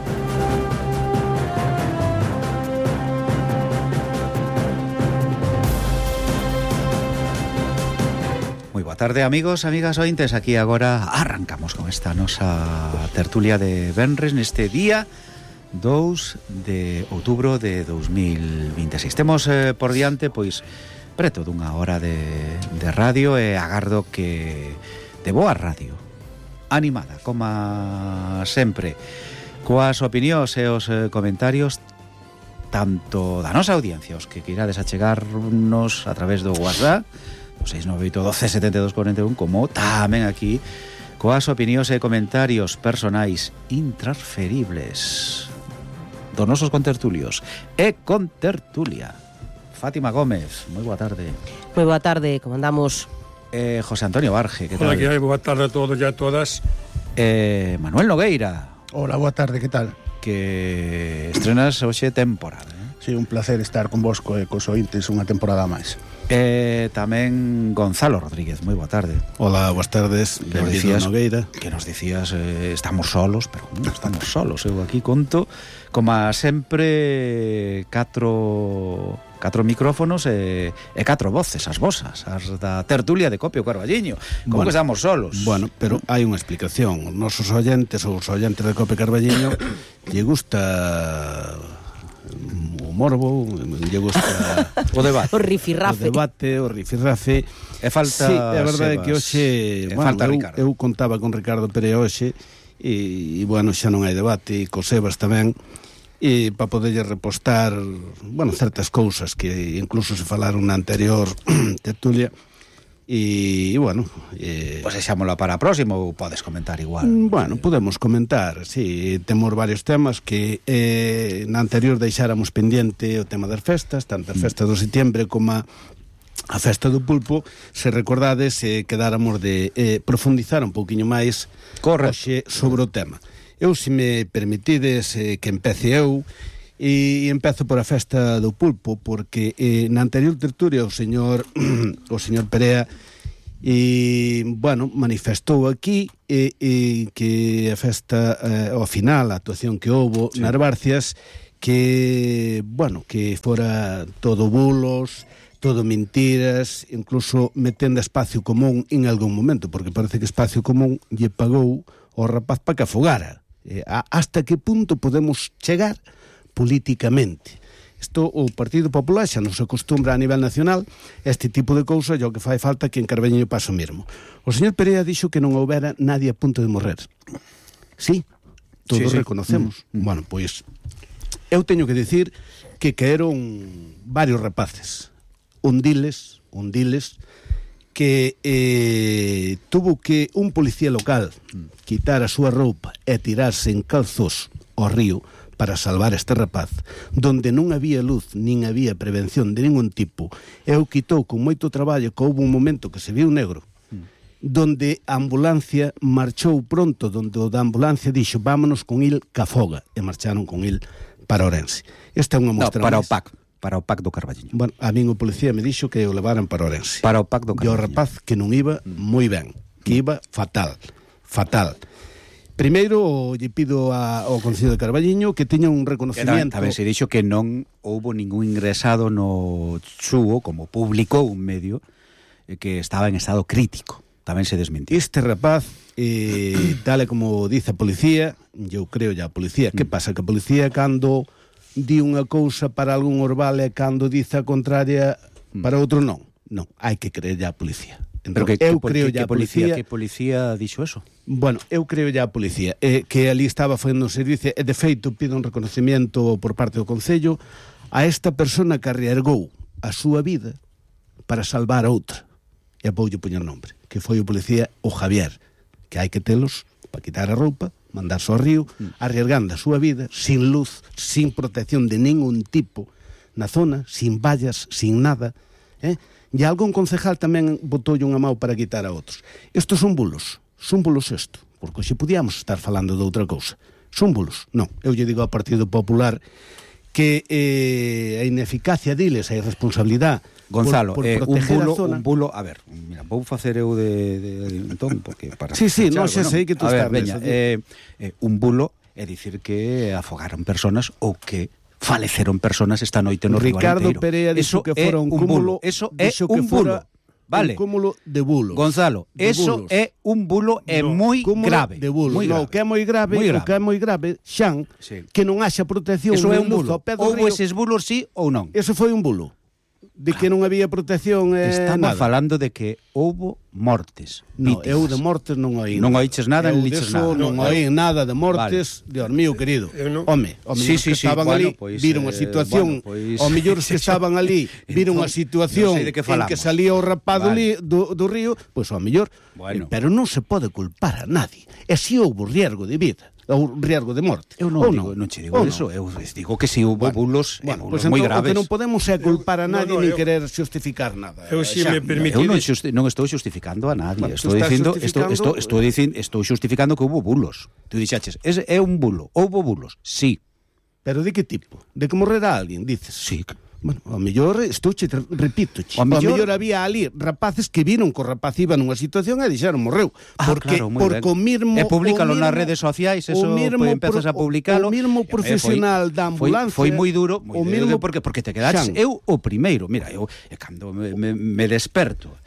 Moi boa tarde, amigos, amigas ointes. Aquí agora arrancamos con esta nosa tertulia de venres neste día 2 de outubro de 2026. Temos por diante, pois, preto dunha hora de radio e agardo que de boa radio animada, como sempre, coas opinións e os comentarios tanto da nosa audiencia, os que queirades achegarnos a través do WhatsApp, o 698 12 72 41, como tamén aquí coas opinións e comentarios personais intransferibles dos nosos contertulios e contertulia. Fátima Gómez, moi boa tarde. Moi boa tarde, como andamos? José Antonio Barge, que tal? Hola, que hai, boa tarde a todos e a todas. Manuel Nogueira. Hola, boa tarde, que tal? Que estrenas hoxe temporada, Sí, un placer estar con vosco e cos ointes unha temporada máis. Tamén Gonzalo Rodríguez, moi boa tarde. Hola, boas tardes, benvido Nogueira. Que nos dicías, estamos solos, pero non estamos solos. Eu aquí conto, como sempre, 4 micrófonos e 4 voces, as vosas, as da tertulia de Cope o Carballiño. Como que estamos solos? Bueno, pero hai unha explicación. Os nosos oyentes, ou os oyentes de Cope Carballiño, lle gusta o morbo, lle gusta o debate, o rifirrafe. E falta, sí, é verdade que hoxe, falta eu contaba con Ricardo Pere hoxe e bueno, xa non hai debate, e co Sebas tamén, e para poderlle repostar, bueno, certas cousas que incluso se falaron na anterior tertulia. E bueno, pois deixámosla para a próxima ou podes comentar igual? Bueno, podemos comentar, sí, temos varios temas que na anterior deixáramos pendiente o tema das festas, tanto as festas do setembro como a festa do pulpo. Se recordades, quedáramos de profundizar un pouquiño máis hoxe sobre o tema. Eu, se me permitides que empece eu, e empezo por a festa do pulpo, porque na anterior tertulia o señor Perea manifestou aquí que a festa, ao final, a actuación que houbo nas Barcias, que fora todo bulos, todo mentiras, incluso metendo espacio común en algún momento, porque parece que espacio común lle pagou ao rapaz para que afogara. Hasta que punto podemos chegar políticamente? Isto o Partido Popular xa nos acostumbra a nivel nacional este tipo de cousas, e o que fai falta que en Carballiño pasa o mesmo. O señor Perea dixo que non houbera nadie a punto de morrer. Sí, todos reconocemos. Bueno, pois eu teño que dicir que caeron varios rapaces, hundiles, que tuvo que un policía local quitar a súa roupa e tirarse en calzos ao río para salvar este rapaz, donde non había luz, nin había prevención de ningún tipo. E o quitou con moito traballo, que houve un momento que se viu negro, donde a ambulancia marchou pronto, donde o da ambulancia dixo, vámonos con il que afoga, e marcharon con il para Ourense. Esta é unha mostra para o PAC do Carballiño. Bueno, a min o policía me dixo que o levaran para Ourense. Para o PAC do Carballiño. E o rapaz que non iba moi ben, que iba fatal. Primeiro, lle pido ao Concello de Carballiño que teña un reconocimiento. Tamén se dixo que non houbo ningún ingresado no Chuo, como publicou un medio, que estaba en estado crítico. Tamén se desmentiu. Este rapaz, tal como dice a policía, eu creo ya a policía, que pasa? Que a policía cando di unha cousa para algún orbal e cando dice a contraria para outro non. Non, hai que creer ya a policía. Entón, pero eu creo ya a policía... Que policía dixo eso? Bueno, eu creo ya a policía que ali estaba facendo un servicio, e de feito pido un reconocimiento por parte do Concello a esta persona que arriesgou a súa vida para salvar a outra, e voulle poñer nombre, que foi o policía o Javier, que hai que telos para quitar a roupa, mandarse ao río, arriesgando a súa vida, sin luz, sin protección de ningún tipo na zona, sin vallas, sin nada, e algún concejal tamén botoulle unha mão para quitar a outros. Estos son bulos isto, porque xe podíamos estar falando de outra cousa. Son bulos, non. Eu lle digo ao Partido Popular que a ineficacia diles, a irresponsabilidade Gonzalo, por proteger a zona... un bulo, a ver, mira, vou facer eu de entón, porque para... Sí, non xa sei que tú estás... Un bulo é dicir que afogaron personas ou que faleceron personas esta noite no Río Alenteiro. Ricardo Perea dixo que fora un cúmulo, eso é un bulo. Vale. Un cúmulo de bulos. Gonzalo, eso é un bulo e moi grave. De bulos. O que é moi grave, Xan, que non haxa protección. Eso é un bulo. Houbo eses bulos sí ou non? Eso foi un bulo. De que non había protección Estamos nada. falando de que houbo mortes. No, eu de mortes non oí. Non oíches nada, non liches nada. Non oí nada de mortes, Dios mío querido. Home, que estaban ali, viron a situación. Os mellores que estaban ali, viron a situación en que salía o rapado do río, pois ao mellor, pero non se pode culpar a nadie. E si houbo riesgo de vida, ou riesgo de morte. Eu non che digo eso, eu digo que si houbo bulos moi graves. O que non podemos é culpar a nadie nin querer xustificar nada. Eu, se me permitides... Eu non estou xustificando a nadie. Estou xustificando que houbo bulos. Tú dixaches, é un bulo. Houbo bulos, sí. Pero de que tipo? De que morrera alguén, dices? Sí. Bueno, ao mellor, repito, ao mellor había ali rapaces que viron que o rapaz iba nunha situación e dixeron morreu. Porque o mismo... E públicalo nas redes sociais, eso empezas a publicalo. O mismo profesional da ambulancia... Foi moi duro, porque te quedaches... Eu o primeiro, mira, eu cando me desperto...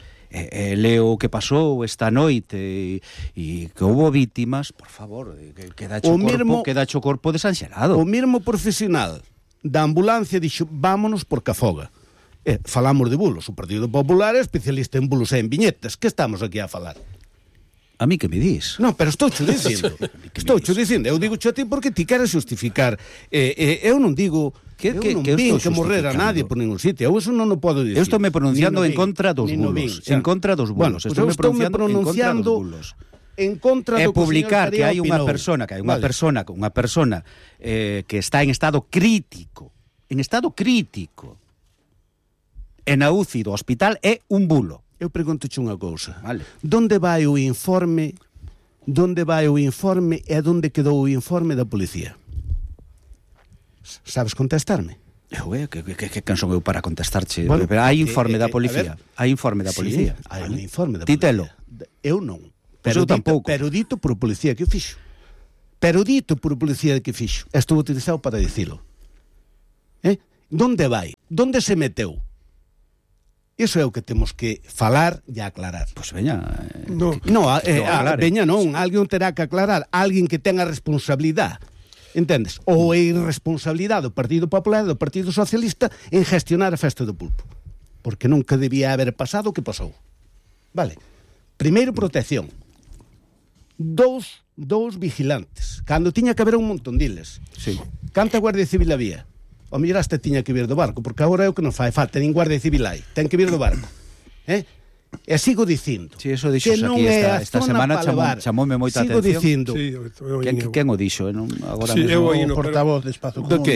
leo o que pasou esta noite e que houbo vítimas, por favor, quedache o corpo desanxerado. O mesmo profesional da ambulancia dixo, vámonos porque afoga. Falamos de bulos, o Partido Popular é especialista en bulos e en viñetas. Que estamos aquí a falar? A mí que me dis? Non, pero estou dicindo. Eu digo a ti porque ti queres justificar. Eu non digo que vin que morrera nadie por ningún sitio. Eu eso non o podo dicir. Eu estou me pronunciando en contra dos bulos. En contra dos bulos. Estou me pronunciando en contra do publicar que hai unha persona, que está en estado crítico, en a UCI do hospital é un bulo. Eu preguntoche unha cousa. Donde vai o informe Donde vai o informe e onde quedou o informe da policía? Sabes contestarme? Que canson eu para contestarche? Bueno, pero hai informe da policía. Hai informe da policía. Sí, hai un informe da policía. Títelo. Eu non. Pero eu tampouco. Pero dito por policía que o fixo. Pero dito por policía que fixo. Estou utilizado para dicilo. Donde vai? Donde se meteu? Iso é o que temos que falar e aclarar. Pois veña. Veña non, alguén terá que aclarar, alguén que tenga responsabilidade. Entendes? Ou a irresponsabilidade do Partido Popular e do Partido Socialista en gestionar a festa do pulpo. Porque nunca debía haber pasado o que pasou. Vale. Primeiro, protección. Dous vigilantes. Cando tiña que haber un montón diles. Sí. Canta Guardia Civil había? O mellor hasta tiña que vir do barco, porque agora é o que non fai falta, nin Guardia Civil hai, ten que vir do barco. E sigo dicindo que non é a esta zona semana para levar. Chamoume moita sigo atención. Dicindo. Quen o dixo? Agora o portavoz de Espacio Común.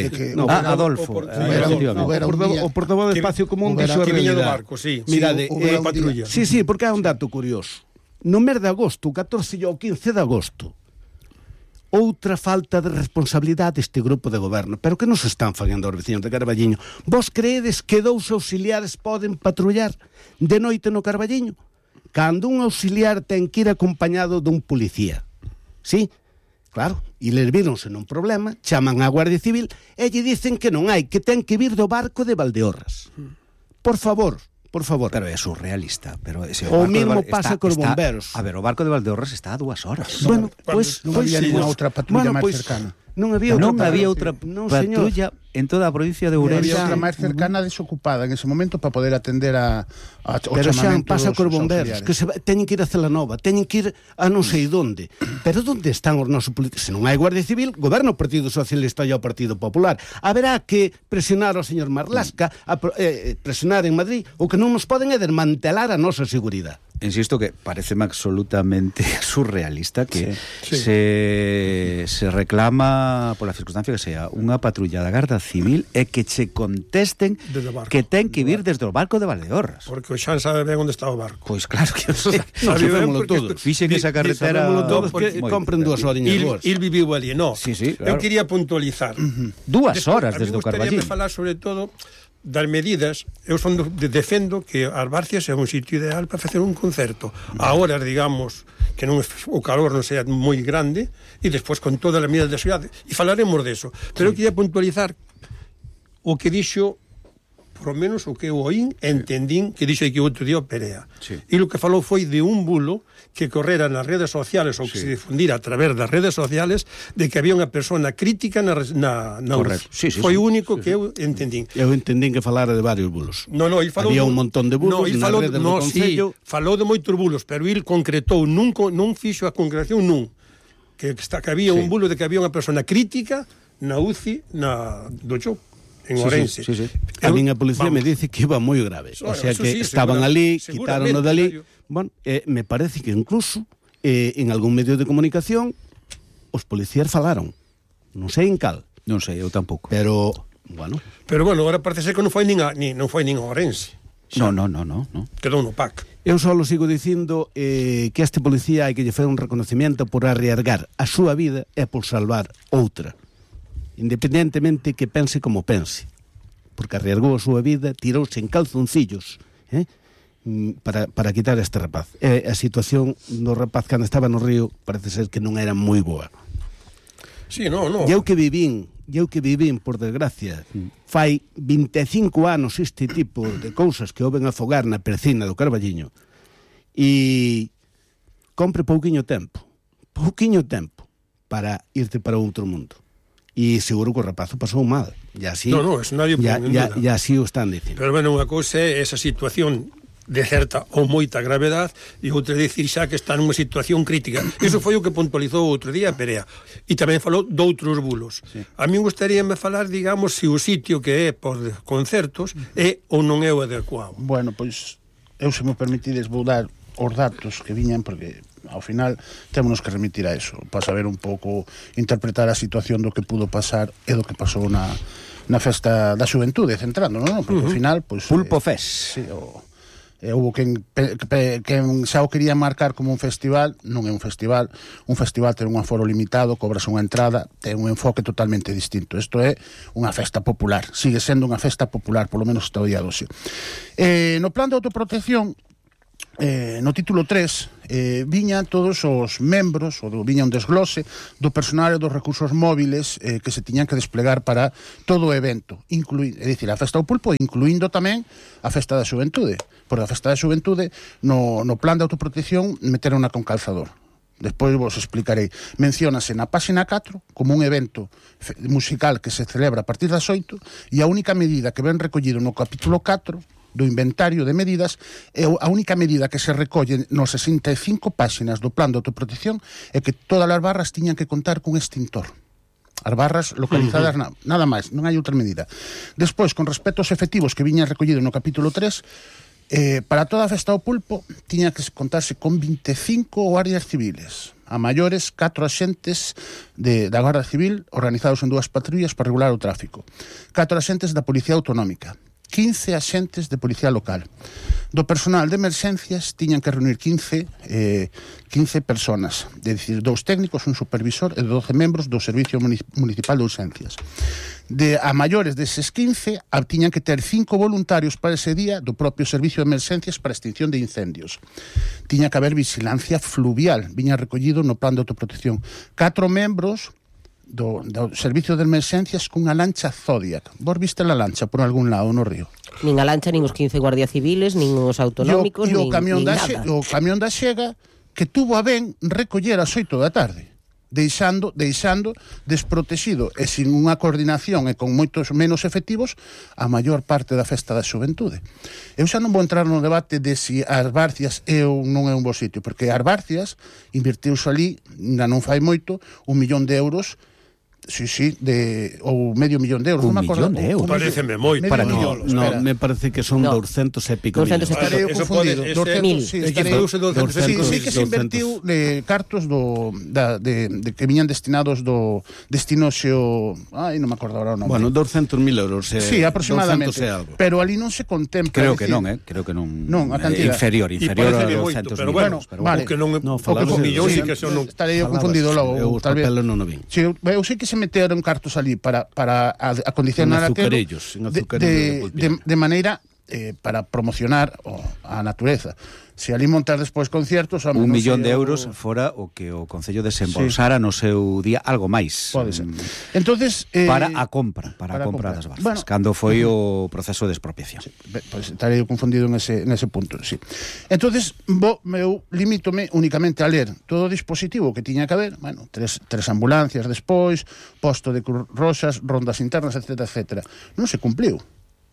Adolfo. O portavoz de Espacio Común dixo a realidade. Mirade, patrulla. Sí, porque hai un dato curioso. No mes de agosto, 14 ou 15 de agosto, outra falta de responsabilidade deste grupo de goberno. Pero que nos están facendo os veciños de Carballiño? Vos creedes que 2 auxiliares poden patrullar de noite no Carballiño? Cando un auxiliar ten que ir acompañado dun policía. Sí? Claro. E les víronse nun problema, chaman á Guardia Civil e lle dicen que non hai, que ten que vir do barco de Valdeorras. Por favor. Pero é surrealista. Pero o mismo pasa cos bomberos. A ver, o barco de Valdeorras está a 2 horas. Bueno, pois non había ninguna outra patrulla máis cercana. Non había outra patrulla en toda a provincia de Ourense. Había outra máis cercana desocupada en ese momento para poder atender o pero xa chamamento pasa cos auxiliares. bomberos, que teñen que ir a Celanova, teñen que ir a non sei donde. Pero onde están os nosos políticos? Se non hai Guardia Civil, goberna o Partido Socialista e o Partido Popular. Haberá que presionar ao señor Marlaska, presionar en Madrid, o que non nos poden é desmantelar a nosa seguridade. Insisto que pareceme absolutamente surrealista que se reclama pola circunstancia que sea unha patrulla da Garda Civil e que che contesten que ten que vir desde o barco de Valdeorras. Porque o Xan sabe ben onde está o barco. Pois claro que sabémolo todos. Fixen esa carretera todos que compren 2 horiñas. Il viviu ali, no. Eu quería puntualizar. 2 horas desde o Carballiño. A mí gustaría falar sobre todo das medidas. Eu defendo que as Barcias é un sitio ideal para facer un concerto a horas, digamos, que non o calor non sea moi grande, e despois con todas as medidas da cidade, e falaremos deso. Pero eu queria puntualizar o que dixo, por lo menos o que eu oín, entendín que dixo aquí outro día o Perea. E o que falou foi de un bulo que correra nas redes sociales ou que se difundira a través das redes sociales de que había unha persona crítica na UCI. Foi o único que eu entendín. Eu entendín que falara de varios bulos. Había un montón de bulos nas redes do Concello. Falou de moitos bulos, pero il concretou, non fixo a concreción que había un bulo de que había unha persona crítica na UCI do Chou. En Ourense. A miña policía me dice que iba moi grave. O sea que estaban ali, quitarono dali. Bueno, me parece que incluso en algún medio de comunicación os policías falaron. Non sei en cal. Non sei, eu tampouco. Pero, bueno, agora parece ser que non foi nin a Ourense. No. Quedou no PAC. Eu só sigo dicindo que este policía hai que lle facer un reconocimiento por arriesgar a súa vida e por salvar outra. Independentemente que pense como pense, porque arriesgou a súa vida, tirouse en calzoncillos para quitar este rapaz. A situación do rapaz cando estaba no río parece ser que non era moi boa. Sí, no. E eu que vivín, por desgracia, fai 25 anos este tipo de cousas que houben afogar na percina do Carballiño, e compre pouquiño tempo para irte para outro mundo. E seguro que o rapazo pasou mal. E así, eso nadie pone en duda. E así o están dicindo. Pero, bueno, unha cousa é esa situación de certa ou moita gravedade, e outra é dicir xa que está nunha situación crítica. Iso foi o que puntualizou outro día Perea. E tamén falou doutros bulos. A mí gustaríame falar, digamos, se o sitio que é por concertos é ou non é o adecuado. Bueno, pois, eu se me permitides vou dar os datos que viñan, porque ao final témonos que remitir a eso para saber un pouco, interpretar a situación do que pudo pasar e do que pasou na festa da xuventude, centrando, non? Porque ao final, pois Pulpo Fest. Sí, houve quen xa o quería marcar como un festival. Non é un festival ten un aforo limitado, cobras unha entrada, ten un enfoque totalmente distinto. Isto é unha festa popular, sigue sendo unha festa popular, polo menos hasta o día de hoxe. No plan de autoprotección, no título 3 viñan todos os membros, viña un desglose do personal e dos recursos móviles que se tiñan que desplegar para todo o evento, é dicir, a festa do pulpo, incluindo tamén a festa da xuventude, porque a festa da xuventude no plan de autoprotección meteron con calzador. Despois vos explicarei. Menciónase na páxina 4 como un evento musical que se celebra a partir das 8, e a única medida que ven recollido no capítulo 4 do inventario de medidas, é a única medida que se recolle nos 65 páxinas do plan de autoprotección é que todas as barras tiñan que contar cun extintor. As barras localizadas, nada máis, non hai outra medida. Despois, con respecto aos efectivos que viñan recollido no capítulo 3, para toda a festa do pulpo tiña que contarse con 25 guardias civiles, a maiores 4 axentes da Garda Civil organizados en 2 patrullas para regular o tráfico, 4 axentes da Policía Autonómica, 15 axentes de policía local. Do personal de emerxencias tiñan que reunir 15 personas, é dicir, 2 técnicos, un supervisor e 12 membros do Servicio Municipal de Urxencias. A maiores deses 15 tiñan que ter 5 voluntarios para ese día do propio Servicio de Emerxencias para extinción de incendios. Tiña que haber vigilancia fluvial, viña recollido no plan de autoprotección. 4 membros do Servicio de Emerxencias cunha lancha Zodiac. Vos viste a lancha por algún lado no río? Nin a lancha, nin os 15 guardias civiles, nin os autonómicos, nin nada. O camión da Xega que tuvo a ben recoller ás 8 da tarde, deixando desprotegido e sin unha coordinación e con moitos menos efectivos a maior parte da festa da xuventude. Eu xa non vou entrar no debate de si as Barcias non é un bo sitio, porque as Barcias invertiuse ali, ainda non fai moito, 1 millón de euros. Sí, ou medio millón de euros. Un millón de euros. Pareceme moito. No, me parece que son 200 e pico mil. Estarei confundido. 200.000. Sí que se invertiu cartos que viñan destinados do destino xeo... Ai, non me acordo agora o nome. Bueno, 200.000 euros. Sí, aproximadamente. Pero ali non se contempla. Creo que non, Non, a cantidad. Inferior a 200.000. Pero bueno, vale. Que non é millón, que son... Estarei confundido logo. Eu os papeles non o vin. Eu sei que se meteron cartos ali para acondicionar aquilo de maneira para promocionar a natureza. Se ali montar despois conciertos... 1 millón de euros fora o que o Concello desembolsara no seu día, algo máis. Pode ser. Entonces, para a compra das Barzas, bueno, cando foi o proceso de expropiación. Sí, pues estarei confundido nese punto, sí. Entonces, eu limítome únicamente a ler todo o dispositivo que tiña que haber, bueno, tres ambulancias despois, posto de Cruz Roxas, rondas internas, etc. Non se cumpliu.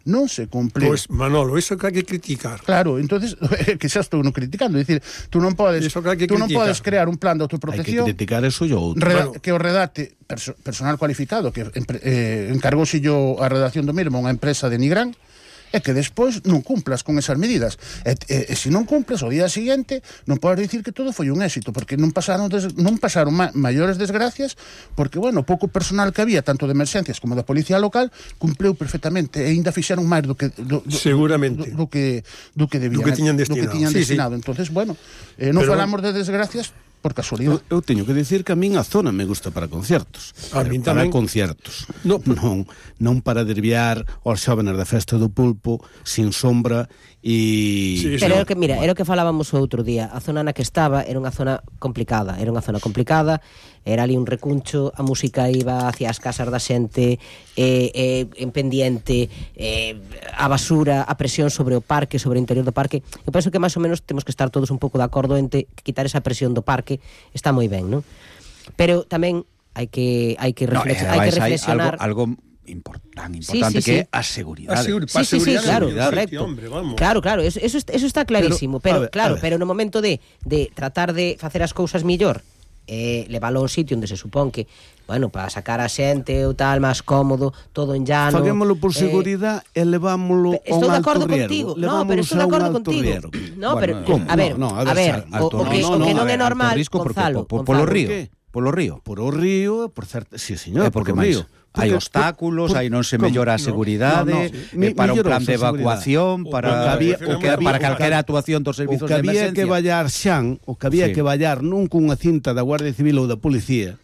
Pois, Manolo, iso que hai que criticar. Claro, entonces que xa estou criticando, é dicir, tú non podes crear un plan de autoprotección. Hai que criticar eso e outro. Que o redacte personal cualificado, que encargouse a redacción do mesmo unha empresa de Nigrán, e que despois non cumplas con esas medidas. E se non cumples, o día seguinte non podes dicir que todo foi un éxito, porque non pasaron maiores desgracias, porque, bueno, o pouco personal que había, tanto de emerxencias como da policía local, cumpriu perfectamente e ainda fixeron máis do que seguramente do que tiñan destinado. Entonces, bueno, non falamos de desgracias por casualidade. Eu teño que dicir que a min a zona me gusta para conciertos. A min tamén. Para conciertos. Non para desviar aos xóvenes da festa do pulpo sin sombra e... Sí, pero era o que falábamos o outro día. A zona na que estaba era unha zona complicada. Era ali un recuncho, a música iba hacia as casas da xente, en pendiente, a basura, a presión sobre o parque, sobre o interior do parque. Eu penso que máis ou menos temos que estar todos un pouco de acordo en que quitar esa presión do parque está moi ben, non? Pero tamén hai que reflexionar... Algo importante que é a seguridade. Sí, claro, correcto. Claro, eso está clarísimo, pero no momento de tratar de facer as cousas mellor, leválo a un sitio onde se supón que, bueno, para sacar a xente ou tal, máis cómodo, todo en llano. Faguémolo por seguridade e levámolo a un alto riesgo. Pero estou de acordo contigo. No, pero, a ver, o que non é normal, Gonzalo. Polo río. Por o río, por certo, sí, señor, porque por o río. Hai obstáculos, aí non se mellora a seguridade, para un plan de evacuación, para calquera actuación dos servizos de emergencia. O que había que vallar, Xan, non cunha cinta da Guardia Civil ou da Policía,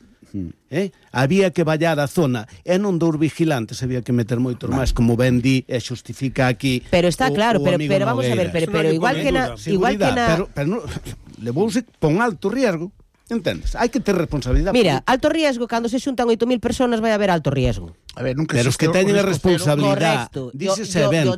había que vallar a zona e non dous vigilantes, había que meter moitos máis, como ben di e xustifica aquí. Pero está claro, pero vamos a ver, pero igual que na pero levouse con alto riesgo. Entendes? Hai que ter responsabilidade. Mira, alto riesgo, cando se xuntan 8.000 personas vai haber alto riesgo. A ver, nunca pero os que teñen a responsabilidade dices eventos.